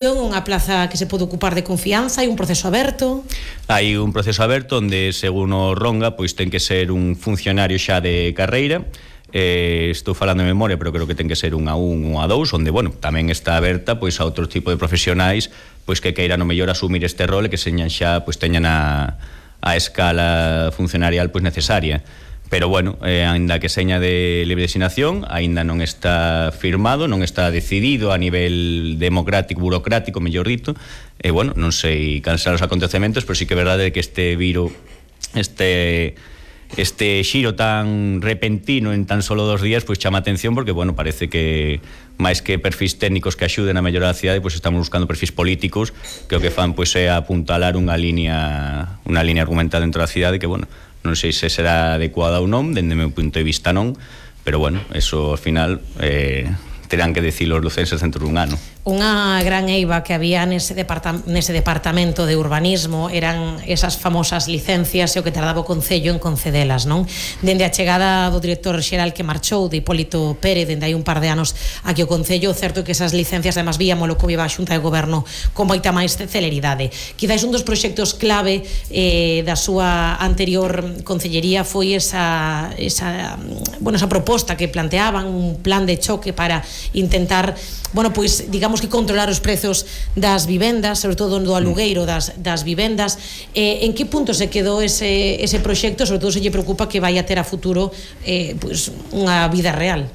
unha plaza que se pode ocupar de confianza, hai un proceso aberto? Hai un proceso aberto onde, según o Ronga, pois ten que ser un funcionario xa de carreira. Estou falando de memoria, pero creo que ten que ser un A1 ou A2, onde, bueno, tamén está aberta pois a outro tipo de profesionais pois que queiran o mellor asumir este rol e que señan xa, pois teñan a escala funcionarial pois necesaria. Pero, bueno, ainda que seña de libre designación, ainda non está firmado, non está decidido a nivel democrático, burocrático, mellor dito. E, bueno, non sei cansar os acontecementos, pero sí que é verdade que este viro, este xiro tan repentino en tan solo 2 días, pois chama atención porque, bueno, parece que máis que perfis técnicos que axuden a mellorar a cidade, pois estamos buscando perfis políticos que o que fan pois é apuntalar unha línea argumental dentro da cidade que, bueno, non sei se será adecuada ou non, dende o meu punto de vista non, pero, bueno, eso ao final terán que decir os lucenses dentro dun ano. Unha gran eiva que había nese departamento de urbanismo eran esas famosas licencias e o que tardaba o Concello en concedelas, non? Dende a chegada do director xeral que marchou, de Hipólito Pérez, dende hai un par de anos aquí o Concello, certo que esas licencias, además, víamolo como iba a Xunta de Goberno con moita máis celeridade. Quizás un dos proxectos clave da súa anterior concellería foi esa proposta que planteaban, un plan de choque para intentar, bueno, pois, digamos que controlar os prezos das vivendas, sobre todo do alugueiro das vivendas. En que punto se quedou ese proxecto? Sobre todo se lle preocupa que vai a ter a futuro pois unha vida real.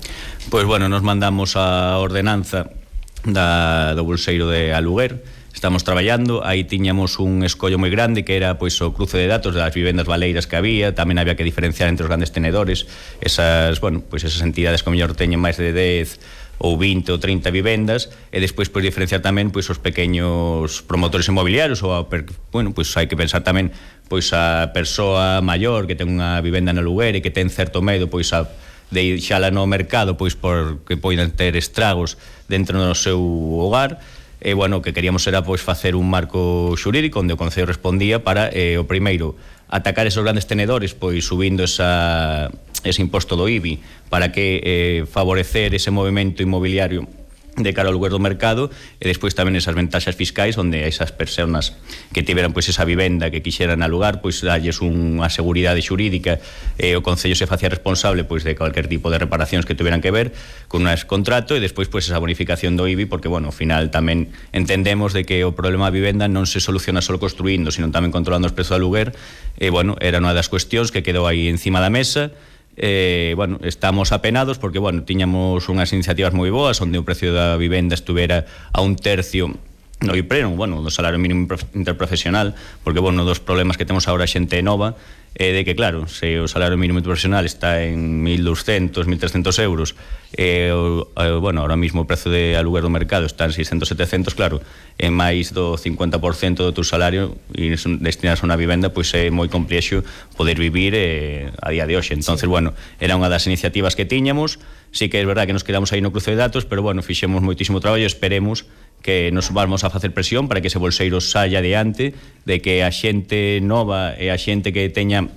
Pois, bueno, nos mandamos a ordenanza do bolseiro de aluguer. Estamos traballando, aí tiñamos un escollo moi grande que era pois o cruce de datos das vivendas baleiras que había, tamén había que diferenciar entre os grandes tenedores, esas entidades que mellor teñen máis de 10 ou 20 ou 30 vivendas, e despois pois diferenciar tamén pois os pequeños promotores inmobiliarios, ou pois hai que pensar tamén pois a persoa maior que ten unha vivenda no aluguer e que ten certo medo pois a de deixala no mercado pois porque poden ter estragos dentro do seu hogar. E, bueno, o que queríamos era pois facer un marco xurídico onde o Concello respondía para o primeiro atacar esos grandes tenedores pois subindo ese imposto do IBI para que favorecer ese movimento inmobiliario de cara ao lugar do mercado, e despois tamén esas ventaxas fiscais onde esas persoas que tiveran pois esa vivenda que quixeran alugar, pois dalles unha seguridade xurídica, e o Concello se facía responsable pois de cualquier tipo de reparacións que tuveran que ver con un contrato, e despois pois esa bonificación do IBI, porque, bueno, ao final tamén entendemos de que o problema da vivenda non se soluciona só construindo, sino tamén controlando os prezos do aluguer, e, bueno, era unha das cuestións que quedou aí encima da mesa. Bueno, estamos apenados porque, bueno, tiñamos unhas iniciativas moi boas onde o precio da vivenda estuvera a 1/3 no IPREN, bueno, do salario mínimo interprofesional, porque, bueno, dos problemas que temos agora a xente nova é de que, claro, se o salario mínimo interprofesional está en 1.200, 1.300 euros, bueno, ahora mismo o prezo de aluguer do mercado está en 600, 700, claro, en máis do 50% do teu salario e destinas a unha vivenda, pois é moi complexo poder vivir a día de hoxe. Entonces, bueno, era unha das iniciativas que tiñamos. Sí que é verdade que nos quedamos aí no cruce de datos, pero, bueno, fixemos moitísimo traballo e esperemos que nos vamos a facer presión para que ese bolseiro saia adiante, de que a xente nova e a xente que teña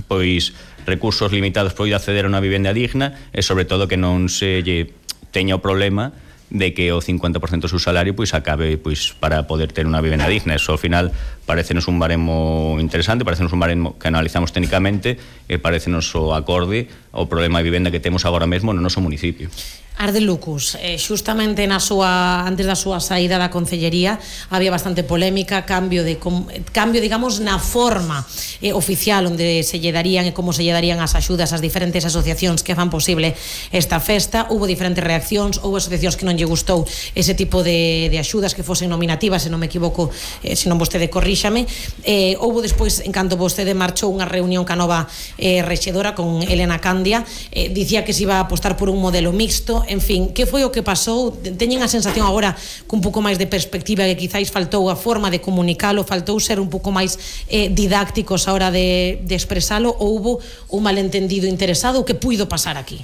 pois recursos limitados poida acceder a unha vivenda digna, e sobre todo que non se lle teña o problema de que o 50% do seu salario pois acabe pois para poder ter unha vivenda digna. Eso ao final parecenos un baremo interesante, parecenos un baremo que analizamos técnicamente e parecenos o acorde ao problema de vivenda que temos agora mesmo no noso municipio. Arde Lucus, xustamente antes da súa saída da Concellería había bastante polémica, cambio, digamos, na forma oficial onde se lle darían e como se lle darían as axudas ás diferentes asociacións que fan posible esta festa. Hubo diferentes reaccións, houve asociacións que non lle gustou ese tipo de axudas que fosen nominativas, se non me equivoco, se non vostede corríxame. Houve despois, en canto vostede marchou, unha reunión ca nova rexedora con Elena Candia, dicía que se iba a apostar por un modelo mixto. En fin, que foi o que pasou? Teñen a sensación agora cun pouco máis de perspectiva que quizáis faltou a forma de comunicalo, faltou ser un pouco máis didácticos a hora de expresalo, ou hubo un malentendido interesado? O que puido pasar aquí?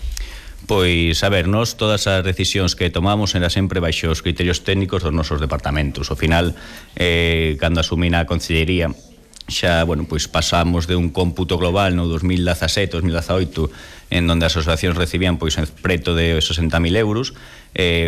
Pois, a ver, nós todas as decisións que tomamos era sempre baixo os criterios técnicos dos nosos departamentos. Ao final, cando asumí na Concellería, xa, bueno, pois pasamos de un cómputo global no 2017, 2018, en donde as asociacións recibían pois preto de 60.000 euros,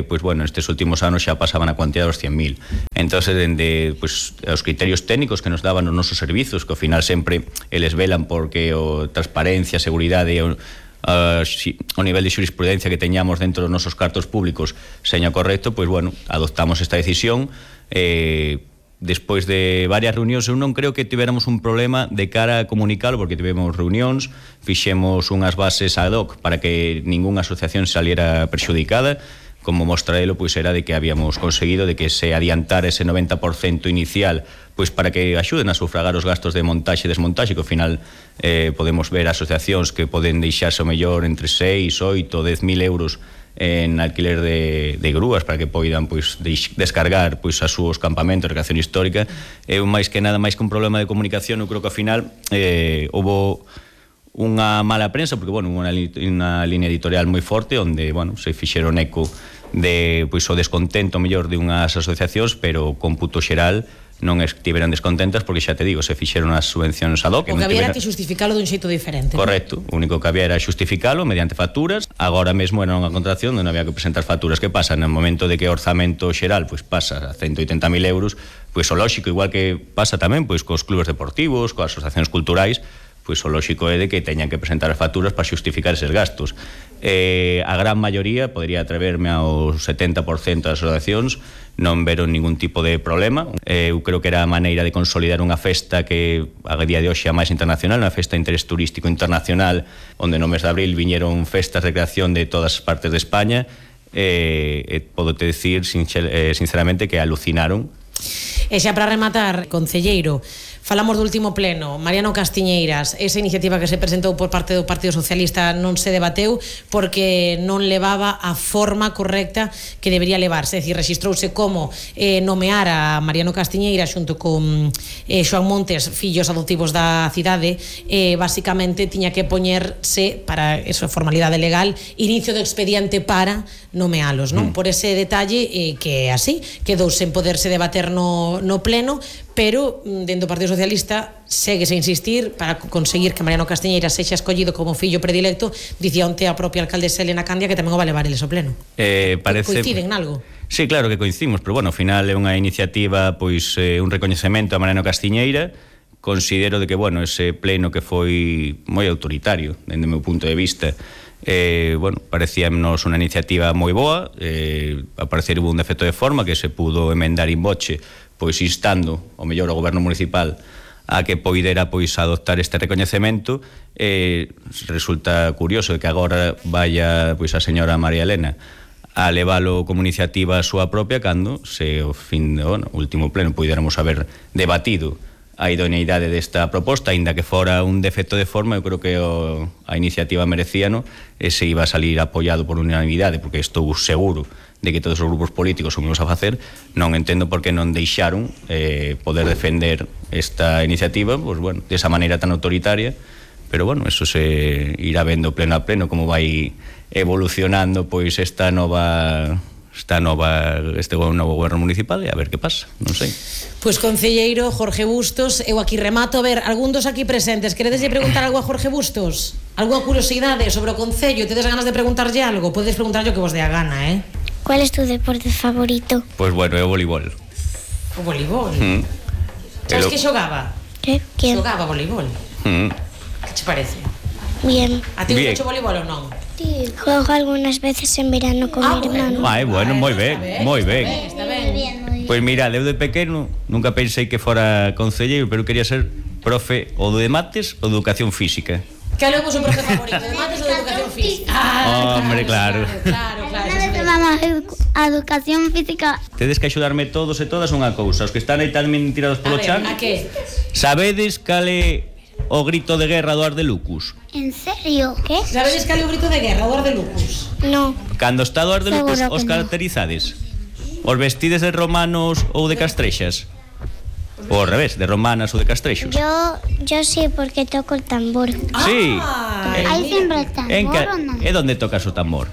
pois bueno, estes últimos anos xa pasaban a cuantía dos 100.000. Entonces, dende pois, os criterios técnicos que nos daban os nosos servizos, que ao final sempre eles velan porque o transparencia, seguridade e o nivel de xurisprudencia que teñamos dentro dos nosos cartos públicos seña correcto, pois bueno, adoptamos esta decisión. Despois de varias reunións, eu non creo que tivéramos un problema de cara a comunicalo, porque tivemos reunións, fixemos unhas bases ad hoc para que ningunha asociación saliera perxudicada. Como mostra delo, pois era de que habíamos conseguido de que se adiantara ese 90% inicial, pois para que axuden a sufragar os gastos de montaxe e desmontaxe, que ao final podemos ver asociacións que poden deixarse o mellor entre 6, 8, 10.000 euros en alquiler de grúas para que poidan pois descargar pois as súas campamentos de recreación histórica. Máis que nada, máis que un problema de comunicación, eu creo que ao final houve unha mala prensa, porque bueno, unha línea editorial moi forte onde, bueno, se fixeron eco de pois o descontento mellor de unhas asociacións, pero cómputo xeral non estiveran descontentas porque xa te digo, se fixeron as subvencións ad hoc. O que había era que xustificalo dun xeito diferente. Correcto, o único que había era xustificalo mediante facturas. Agora mesmo era unha contratación onde non había que presentar facturas. Que pasa? No momento de que o orzamento xeral pois pasa a 180.000 euros, pois o lóxico, igual que pasa tamén pois cos clubes deportivos, coas asociacións culturais, pois o lóxico é de que teñan que presentar as facturas para xustificar eses gastos. A gran maioría, podería atreverme ao 70% das asociacións, non veron ningún tipo de problema. Eu creo que era a maneira de consolidar unha festa que a día de hoxe é a máis internacional, unha festa de interés turístico internacional, onde no mes de abril viñeron festas de recreación de todas as partes de España. Podo te decir sinceramente que alucinaron. E xa para rematar, concelleiro, falamos do último pleno, Mariano Castiñeiras, esa iniciativa que se presentou por parte do Partido Socialista non se debateu porque non levaba a forma correcta que debería levarse, é dicir, rexistrouse como nomear a Mariano Castiñeiras xunto con Xoán Montes, fillos adoptivos da cidade, basicamente tiña que poñerse, para esa formalidade legal, inicio do expediente para nomealos, non? Por ese detalle que así quedou sen poderse debater no pleno, pero dentro do Partido Socialista séguese a insistir para conseguir que Mariano Castiñeiras sexa escollido como fillo predilecto. Dicía onte a propia alcaldesa Elena Candia que tamén o va levar eles ao pleno. Coinciden en algo? Sí, claro que coincidimos, pero bueno, ao final é unha iniciativa, pois un recoñecemento a Mariano Castiñeira. Considero de que, bueno, ese pleno que foi moi autoritario, dende o meu punto de vista, bueno, parecíanos unha iniciativa moi boa. A parecer hubo un defecto de forma que se pudo emendar in voce, pois instando o mellor ao goberno municipal a que poidera pois adoptar este recoñecemento. Resulta curioso que agora vaya pois a señora María Elena a levalo como iniciativa a súa propia, cando se o fin do último pleno poidéramos haber debatido a idoneidade desta proposta, aínda que fora un defecto de forma. Eu creo que a iniciativa merecíano e se iba a salir apoiado por unanimidade, porque estou seguro de que todos os grupos políticos o vamos a facer. Non entendo por que non deixaron poder defender esta iniciativa, pois bueno, desa maneira tan autoritaria. Pero bueno, eso se irá vendo pleno a pleno como vai evolucionando pois este novo goberno municipal, e a ver que pasa, non sei. Pois concelleiro Jorge Bustos, eu aquí remato. A ver, algún dos aquí presentes queredes preguntar algo a Jorge Bustos? Algo a curiosidade sobre o concello? Tedes ganas de preguntarlle algo? Podedes preguntarlle o que vos dé a gana, ¿Cuál es tu deporte favorito? Pois bueno, é o voleibol. O voleibol? Sabes que xogaba? ¿Qué? ¿Quién? Xogaba voleibol. Que che parece? Bien. A ti gusta o voleibol ou non? Sí, juego algunas veces en verano con mi hermano. Bueno, moi ben, moi ben. Está ben. Pois mira, eu de pequeno nunca pensei que fora concelleiro, pero quería ser profe ou de mates ou de educación física. Cal é o vosso profe favorito, de mates ou de educación física? Hombre, claro. Una vez tomamos a educación física. Tedes que axudarme todos e todas unha cousa. Os que están aí tamén tirados polo chan. A que? Sabedes cal é o grito de guerra do Ardelucus? ¿En serio? ¿Qué? Sabedes cal é o grito de guerra do Ardelucus? No. Cando está do Ardelucus, Seguro que os caracterizades? Os vestides de romanos ou de castrexas? Ou ao revés, de romanas ou de castrexos? Yo sí, porque toco el tambor. Sí. ¿Hay siempre el tambor o no? E onde tocas o tambor?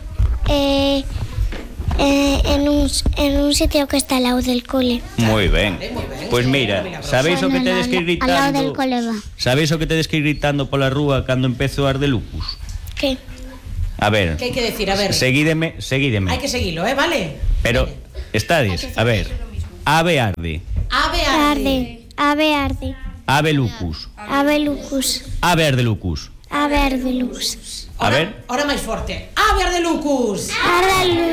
En un sitio que está al lado del cole. Moi ben. Pois mira, sabéis o que tedes que ir gritando? Al lado del cole va. Sabéis o que tedes que ir gritando pola rúa cando empezo o Ardelucus? ¿Qué? A ver. ¿Qué hay que decir? A ver. Seguídeme. Hay que seguirlo, ¿vale? Pero, estades, a ver. Ave arde. Arde. Ave arde. Ave lucus. Ave lucus. Ave ardelucus. Ave ardelux. A ver. Ahora máis forte. Ave ardelucus. Arde